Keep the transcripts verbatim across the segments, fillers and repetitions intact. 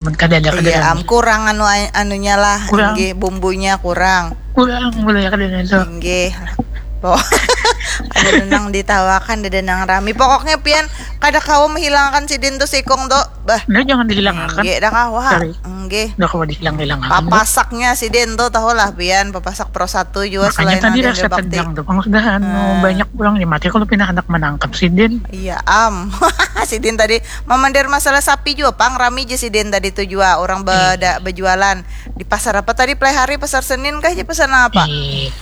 Mun kada ada, kada Iya, ada. Am, kurang anu anunya lah, Kurang. Inggih, bumbunya kurang. Kurang, boleh kada itu. Inggih. Loh. Ada nang ditawakan, ada nang rami. Pokoknya pian kada kawa menghilangkan sidin tuh sikung tuh. Bah. Nah, jangan dihilangkan. Inggih, dah kawa. Sorry. Inggih. Dah kawa dihilangkan. Papasaknya sidin tuh, tahu lah pian, papasak pro satu juga. Makanya Selain tadi ada rasa bakti. Tegang tuh, Bang, sudahan. Hmm. Banyak orang yang mati kalau pina hendak menangkap sidin. Iya, Am. Sidin tadi mamander masalah sapi juga, pang, rami je sidin tadi tuh juga, orang beda bejualan di pasar apa tadi, Play Hari, Pasar Senin kah, je pasar apa? Ih,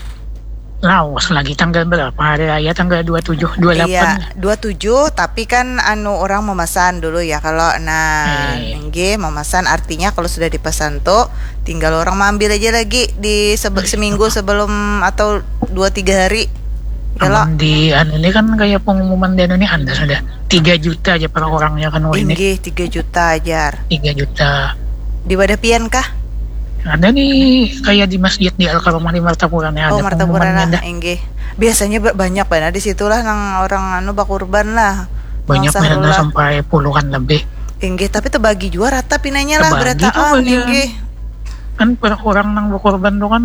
lawas lagi, tanggal berapa hari raya? Tanggal dua tujuh, dua delapan. Iya, dua tujuh, tapi kan anu, orang memesan dulu ya kalau, nah, Eh. Inggih, memesan artinya kalau sudah dipesan tuh tinggal orang maambil aja lagi di sebe- Nah, seminggu sebelum atau dua tiga hari. Kalau Amun di anu ini kan kayak pengumuman di anu ini ada sudah tiga juta aja per orangnya kan, wah, ini Inggih, tiga juta ajar. Tiga juta. Di wadah pian kah? Ada nih kayak di masjid di Al Karomah di Martapura nih, Oh, ada Martapura pengumumannya lah, dah. Inggih. Biasanya ba- banyak banget di situlah nang orang anu bakurban lah. Banyak Bangsa banget, lah. Sampai puluhan lebih. Inggih, tapi terbagi juga rata pinanya lah, Terbagi tuh berataan, bagian. Inggih. Kan per orang nang bakurban tuh kan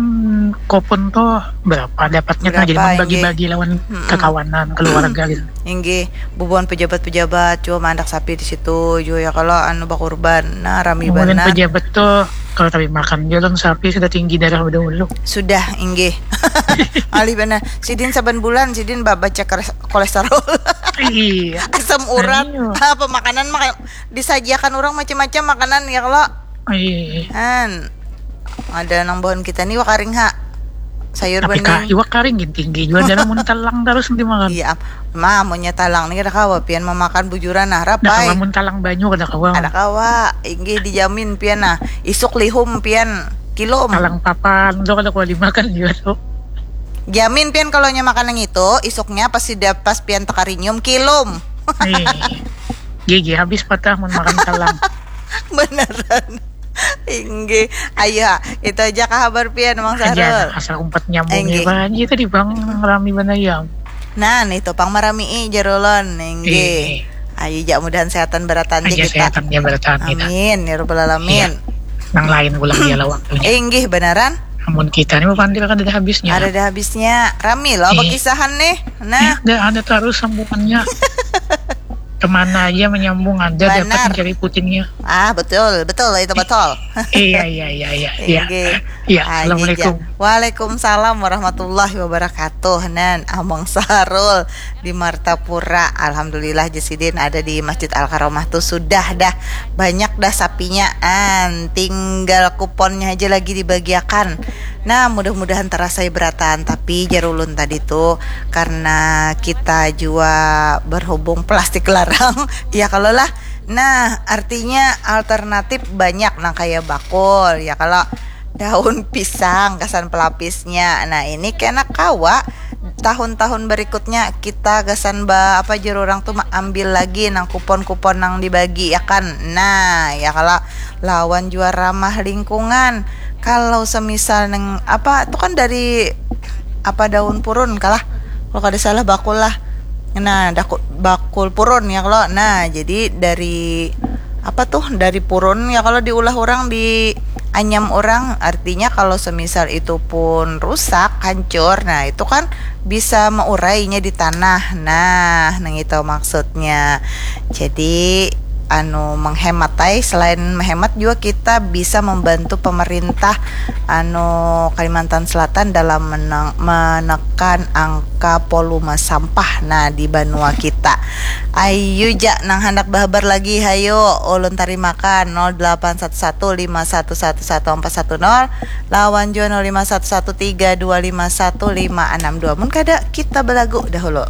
kupon tuh berapa dapatnya, nah, jadi Berapa, membagi-bagi lawan Mm-mm. kakawanan, keluarga gitu. Inggih, bubuhan pejabat-pejabat juga mandak sapi di situ juga ya kalau anu bakurban. Nah, rami Kemudian banar. Pejabat tuh kalau tapi makan jalan sapi sudah tinggi darah dahulu. Sudah, inggih. Alih banar. Sidin saban bulan sidin ba- baca kres- kolesterol. Iya. Asam urat. Ayo. Apa makanan, makan disajiakan orang macam-macam makanan ya kalau. Iya. Han. Ada nang pohon kita nih wakaring ha. Sayur Tapi kak, bening. Iwak karing gin tinggi juga, jangan mun talang terus nanti makan. Iya, mah, maunya talang nih kada kawa pian memakan bujuran nah, Ada kawa rapai. Mun talang banyu, kada kawa. Ada kawa, inggih, dijamin pian nah. Isuk lihum pian kilum. Talang papan tuh kada kawa dimakan juga tuh. Jamin pian kalau nya makan yang itu, isuknya pas sudah pas pian takarinyum kilum. Nih. Gigi habis patah mun makan talang. Beneran. Inggih. Ayo, itu aja kah kabar pian, Mang Aja Sarul? Nah, asal umpat nyambung Inggih. Apa aja tadi, Bang, rami banayam. Nah, nih tuh pang marami'i jar ulun, inggih. Inggih. Ayo ja, mudahan sehatan barataan ja Aja kita. Sehatan ja barataan kita. Amin ya rabbal alamin. Nang lain pulang dia lah waktunya. Inggih, beneran. Namun kita nih, Bang, kan ada habisnya. Ada ada habisnya. Rami loh Iya. Pakisahan nih. Nah, Ada, ada terus sambungannya. Kemana aja menyambung ada, dapat Benar. Mencari putingnya. Ah, betul, betul, itu betul. Iya, iya, iya, iya. Iya. Inggih. Iya, Ah, assalamualaikum. Inggih, ja. Waalaikumsalam warahmatullahi wabarakatuh. Nan, Amang Sarul di Martapura. Alhamdulillah, ja sidin ada di Masjid Al Karomah tuh sudah dah banyak dah sapinya. An, tinggal kuponnya aja lagi dibagiakan. Nah, mudah-mudahan terasai berataan, tapi jar ulun tadi tuh karena kita jua berhubung plastik larang, ya kalau lah. Nah, artinya alternatif banyak, nah, kayak bakul, ya kalau daun pisang kesan pelapisnya. Nah, ini kena kawa tahun-tahun berikutnya kita gasan ba apa jar urang tuh ambil lagi nang kupon-kupon nang dibagi ya kan. Nah, ya kalau lawan jua ramah lingkungan. Kalau semisal neng apa tuh kan dari apa daun purun kalah. Kalau kada salah bakul lah. Nah, daku, bakul purun ya kalau. Nah, jadi dari apa tuh dari purun ya kalau diulah orang di anyam orang, artinya kalau semisal itu pun rusak hancur, nah itu kan bisa meurainya di tanah. Nah, nang itu maksudnya. Jadi anu menghemat ai, selain menghemat juga kita bisa membantu pemerintah anu Kalimantan Selatan dalam menang, menekan angka volume sampah nah di banua kita. Ayu ja nang handak bahabar lagi, hayo ulun tarimakan nol delapan satu satu lima satu satu satu empat satu nol lawan jua nol lima satu satu tiga dua lima satu lima enam dua. Mun kada, kita belagu dahulu.